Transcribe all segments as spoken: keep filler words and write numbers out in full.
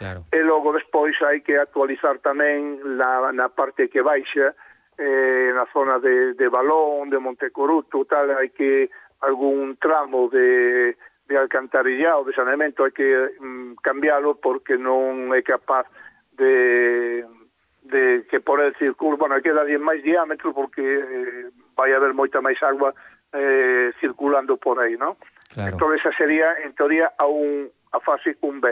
claro. E logo despois hai que actualizar tamén na, na parte que baixa, eh, na zona de, de Balón, de Montecoruto, tal, hai que algún tramo de, de alcantarillado, de saneamento, hai que mm, cambiálo porque non é capaz de, de que por el circulo, bueno, hai que darlle máis diámetro porque eh, vai haber moita máis agua eh, circulando por aí, non? Claro. Entón esa sería, en teoría, a, un, a fase un B.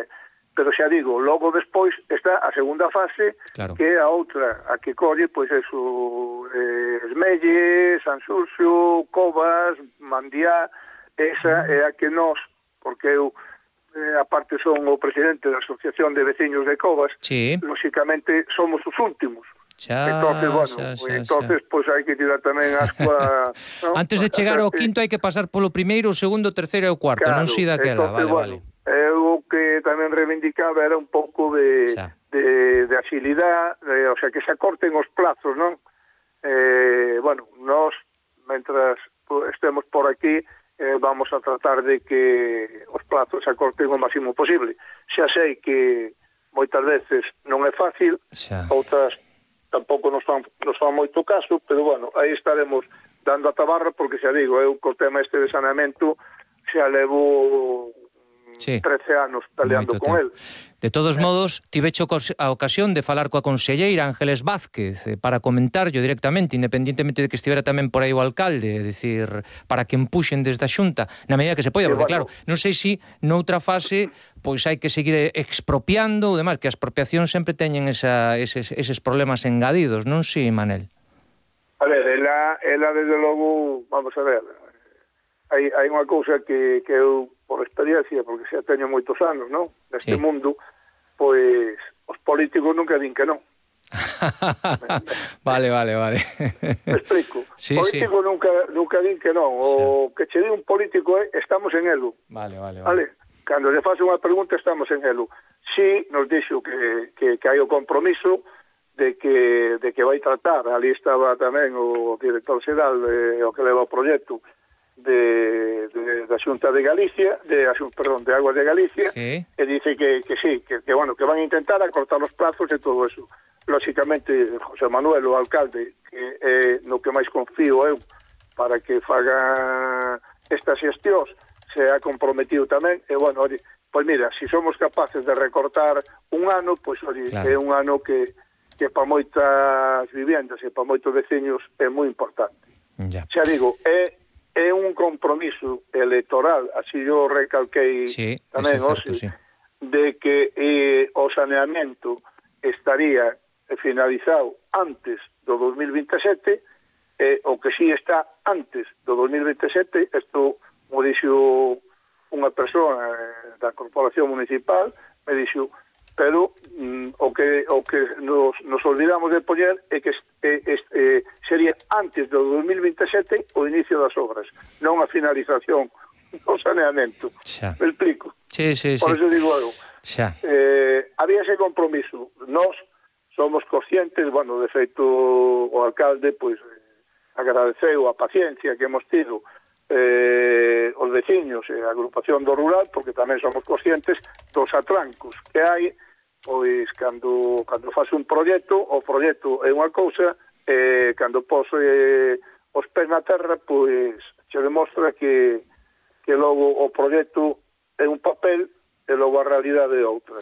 Pero xa digo, logo despois está a segunda fase, claro. que é a outra, a que colle, pois, eso, eh, Esmelle, Sanxurxo, Covas, Mandiá, esa é a que nós, porque eu, eh, aparte son o presidente da Asociación de Veciños de Covas, sí. lóxicamente somos os últimos. Xa, entonces, bueno, xa, xa, entonces, pois pues, hai que tirar tamén ascua, ¿no? Antes de chegar ao quinto hai que pasar polo primeiro, o segundo, o terceiro e o cuarto, claro, non si daquela, entonces, vale, bueno, vale. Eu que tamén reivindicaba era un pouco de, de, de agilidade, de, o sea, que se acorten os plazos, non? Eh, bueno, nós, mentras estemos por aquí, eh, vamos a tratar de que os plazos se acorten o máximo posible. Xa sei que moitas veces non é fácil, xa. Outras tampouco nos fan, nos fan moito caso, pero bueno, aí estaremos dando a tabarra, porque xa digo, eu co tema este de saneamento xa levo sí. trece anos peleando Moito con tempo. el. De todos eh. modos, tivecho a ocasión de falar coa conselleira Ángeles Vázquez eh, para comentarlo directamente, independientemente de que estivera tamén por aí o alcalde, é dicir, para que empuxen desde a Xunta, na medida que se poida, porque bueno, claro, non sei se noutra fase pois hai que seguir expropiando ou demais, que as expropiacións sempre teñen esa, eses, eses problemas engadidos, non si, Manel? A ver, ela, ela desde logo, vamos a ver, hai, hai unha cousa que, que eu, por experiencia, porque xa teño moitos anos, non? Neste sí. mundo, pois os políticos nunca din que non. vale, vale, vale. Me explico. Sí, político sí. nunca nunca din que non. O sí. que che di un político é estamos en elo. Vale, vale, vale. vale? Cando lle faz unha pregunta estamos en elo. Si nos dixo que, que, que hai o compromiso de que, de que vai tratar. Ali estaba tamén o director xeral de, o que leva o proxecto de, de, da Xunta de Galicia, de, perdón, de Aguas de Galicia, sí. e dice que, que sí, que, que, bueno, que van a intentar acortar os plazos e todo eso. Lóxicamente, José Manuel, o alcalde, que é no que máis confío eu para que faga estas xestións, se ha comprometido tamén, e, bueno, oye, pois mira, se si somos capaces de recortar un ano, pois, oye, claro. é un ano que, que para moitas viviendas e para moitos veciños é moi importante. Ya. Xa digo, é é un compromiso electoral, así yo recalquei sí, tamén, certo, oxe, sí. de que eh, o saneamento estaría finalizado antes do dos mil veintesete, eh, o que sí está antes do dos mil veintesete, isto, como dixo unha persoa eh, da Corporación Municipal, me dixo, pero mm, o que o que nos, nos olvidamos de poñer é que eh, eh, sería antes do dos mil veintesete o inicio das obras, non a finalización do saneamento. Xa. Me explico? Sí, sí, Por sí. eso digo eu. Xa. Eh, había ese compromiso. Nós somos conscientes, bueno, de feito o alcalde, pois, eh, agradeceu a paciencia que hemos tido eh, os veciños e a agrupación do rural, porque tamén somos conscientes dos atrancos que hai. Pois cando cando faz un proxecto, o proxecto é unha cousa, e cando pos eh, os pés na terra, pois se demostra que que logo o proxecto é un papel e logo a realidade é outra.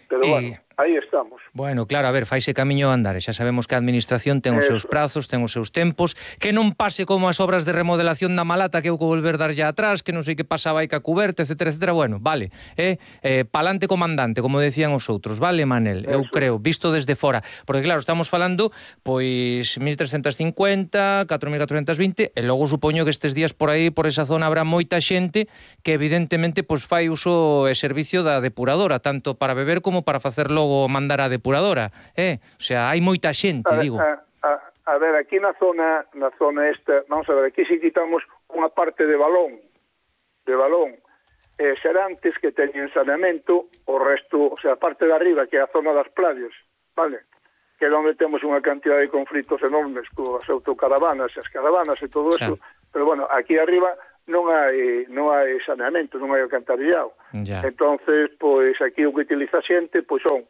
Pero e... bueno, aí estamos. Bueno, claro, a ver, faise camiño a andar, xa sabemos que a administración ten os Eso. seus prazos, ten os seus tempos, que non pase como as obras de remodelación da Malata, que eu vou volver dar ya atrás, que non sei que pasaba aí ca cuberta, etcétera, etcétera. Bueno, vale, eh, eh, palante comandante, como decían os outros, vale, Manel? Eu Eso. creo, visto desde fora, porque claro, estamos falando, pois, mil trescentos cincuenta, catro mil catrocentos vinte, e logo supoño que estes días por aí, por esa zona, habrá moita xente que evidentemente, pois, fai uso e servicio da depuradora, tanto para beber como para facer logo mandar a depuradora, eh? O sea, hai moita xente, a, digo. A, a, a ver, aquí na zona na zona esta, vamos a ver, aquí si quitamos unha parte de Balón, de Balón, eh, Serantes que teñen saneamento, o resto, o sea, a parte de arriba, que é a zona das playas, vale? Que é onde temos unha cantidad de conflitos enormes coas autocaravanas, as caravanas e todo eso, pero bueno, aquí arriba non hai non hai saneamento, non hai alcantarillado. Ya. Entonces, pois aquí o que utiliza a xente pois son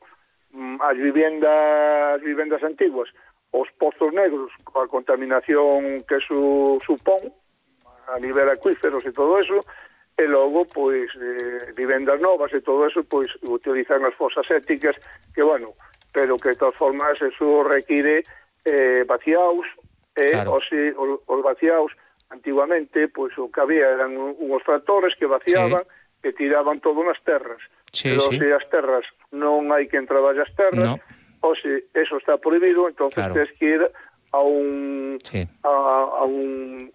mm, as vivendas vivendas antiguas, os pozos negros, a contaminación que su supón a nivel acuíferos e todo eso, e logo, pois, eh, vivendas novas e todo eso, pois, utilizan as fosas sépticas, que, bueno, pero que, de todas formas, eso require eh, vaciaos, e, Claro. os, os, os vaciaos, antiguamente, pois, o que había eran unhos tractores que vaciaban Sí. e tiraban todo nas terras. Sí, pero, sí. se as terras non hai quen traballe as terras, No. ou se eso está prohibido, entonces Claro. tens que ir a un... Sí. a, a un...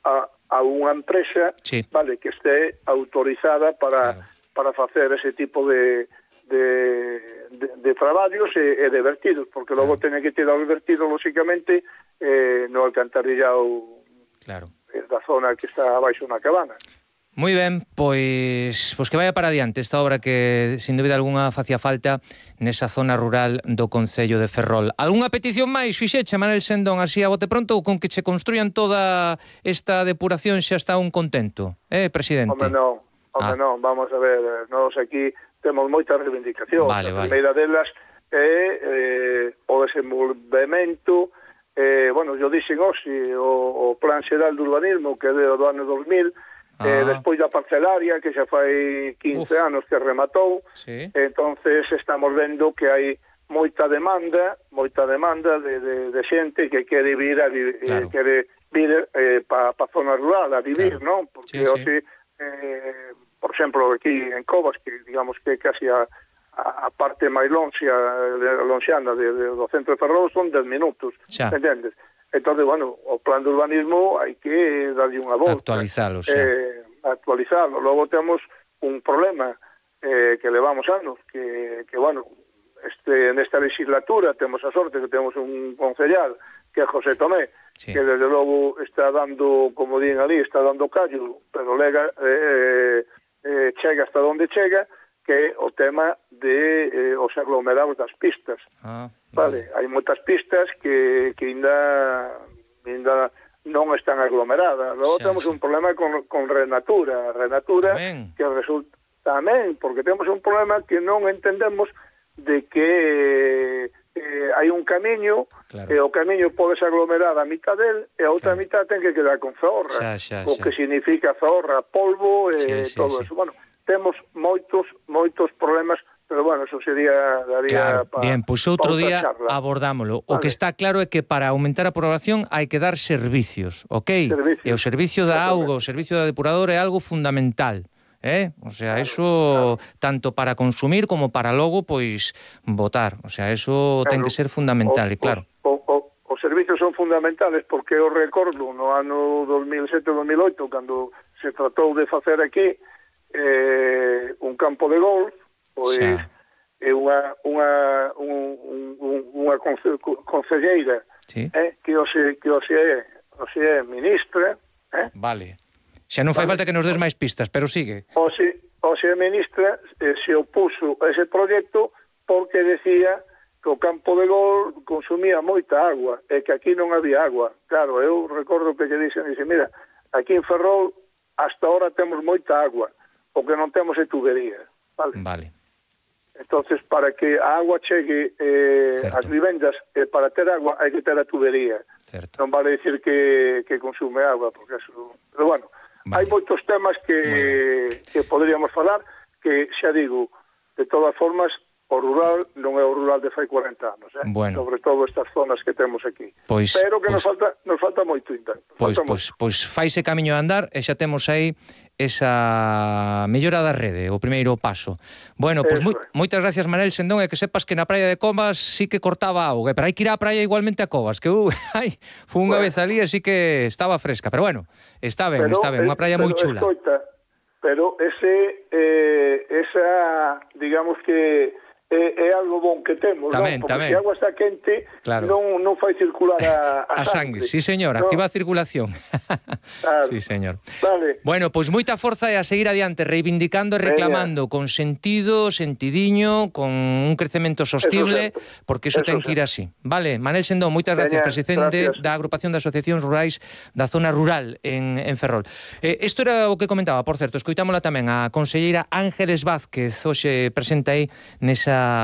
a, a unha empresa, Sí. vale, que esté autorizada para Claro. para facer ese tipo de de, de, de traballos e, e de vertidos, porque logo Claro. teñen que tirar os vertidos, lóxicamente, eh, no alcantarillado Claro. da zona que está abaixo na cabana. Moi ben, pois, pois que vaya para adiante esta obra que, sin dúbida alguna, facía falta nesa zona rural do Concello de Ferrol. Algúnha petición máis, fixeche, Manel Sendón, así a bote pronto, ou con que che construyan toda esta depuración xa está un contento, eh, presidente? Home, non, home, Ah. non, vamos a ver, nós aquí temos moitas reivindicacións. Vale, a vale. primeira delas é eh, o desenvolvemento, eh, bueno, yo dixen hoxe, o, o Plan Xeral de Urbanismo, que é do ano dos mil, Ah. eh, despois da parcelaria, que xa fai quince Uf. anos que rematou, Sí. entonces estamos vendo que hai moita demanda, moita demanda de, de, de xente que quere vir a vi, Claro. eh, quere vir eh, para pa zona rural a vivir, Claro. non? Sí, Porque sí. hoxe, eh, por exemplo, aquí en Covas, que digamos que casi a, a, a parte máis lonxia, lonxiana de, de, do centro de Ferrol son dez minutos, Xa. entendes? Entón, bueno, o plan de urbanismo hai que darlle unha volta. Actualizalo, xa. Eh, actualizarlo. Logo temos un problema eh, que levamos anos, que, que bueno, este, nesta legislatura temos a sorte que temos un concellal, que é José Tomé, Sí. que desde logo está dando, como din ali, está dando callo, pero lega, eh, eh, chega hasta onde chega, que é o tema de eh, os aglomerados das pistas. Ah, Vale, hai moitas pistas que, que ainda, ainda non están aglomeradas. Logo Xa, temos xa. un problema con, con Renatura. Renatura Tamén. que resulta tamén, porque temos un problema que non entendemos de que eh, hai un camiño, Claro. e o camiño pode ser aglomerada a mitad del, e a outra Claro. mitad ten que quedar con zorra. Xa, xa, o xa. que significa zorra, polvo e Sí, sí, todo sí. eso. Bueno, temos moitos, moitos problemas, pero bueno, eso sería, daría Claro, pa, bien, pois pa outro outra día charla. abordámolo. O Vale. que está claro é que para aumentar a población hai que dar servicios, ok? Servicios. E o servicio da Exactamente. auga, o servicio da depuradora é algo fundamental. Eh? O sea, Claro, eso claro. tanto para consumir como para logo pois votar. O sea, eso ten Claro. que ser fundamental, O- e claro. O, o, os servicios son fundamentales porque eu recordo no ano dos mil sete dos mil oito, cando se tratou de facer aquí eh, un campo de golf, pois Xa. é unha, unha, un, un, unha conce, concelleira Sí. eh, que hoxe, que hoxe é, hoxe é ministra, eh? Vale. Xa non fai Vale. falta que nos des máis pistas, pero sigue. Hoxe, hoxe a ministra eh, se opuso a ese proxecto porque decía que o campo de gol consumía moita agua e que aquí non había agua. Claro, eu recordo que lle dixen, dixe, mira, aquí en Ferrol hasta ahora temos moita agua, o que non temos é tubería, vale? Vale. Entonces, para que a agua chegue eh, Certo. ás vivendas, eh, para ter agua hai que ter a tubería. Certo. Non vale dicir que, que consume agua, porque eso... Pero bueno, Vale. hai moitos temas que, que poderíamos falar, que xa digo, de todas formas, o rural non é o rural de fai cuarenta anos, eh? Bueno. Sobre todo estas zonas que temos aquí. Pois- Pero que nos pois- falta nos falta moito ainda. Nos Pois, falta pois, moito. pois faise camiño a andar e xa temos aí esa mellora da rede, o primeiro paso. Bueno, pois Eso moi, é. moitas gracias, Manel Sendón, e que sepas que na praia de Covas sí que cortaba auga, pero hai que ir á praia igualmente a Covas, que uh, ai, foi unha Bueno. vez ali así que estaba fresca, pero bueno, está ben, Pero, está ben, unha eh, praia moi pero chula. Escoita, pero ese eh, esa, digamos que é, é algo bon que temos, tamén, non? Porque tamén. se a agua está quente, claro. non, non fai circular a, A a, sangue. sangre. Sí, señor, no? activa a circulación. Claro. Sí, señor. Vale. Bueno, pois moita forza e a seguir adiante, reivindicando e reclamando con sentido, sentidiño, con un crecemento sostible, porque iso ten que ir así. Vale, Manel Sendón, moitas gracias, presidente da Agrupación de Asociacións Rurais da Zona Rural en, en Ferrol. Eh, isto era o que comentaba, por certo, escoitámola tamén a conselleira Ángeles Vázquez, hoxe presenta aí nesa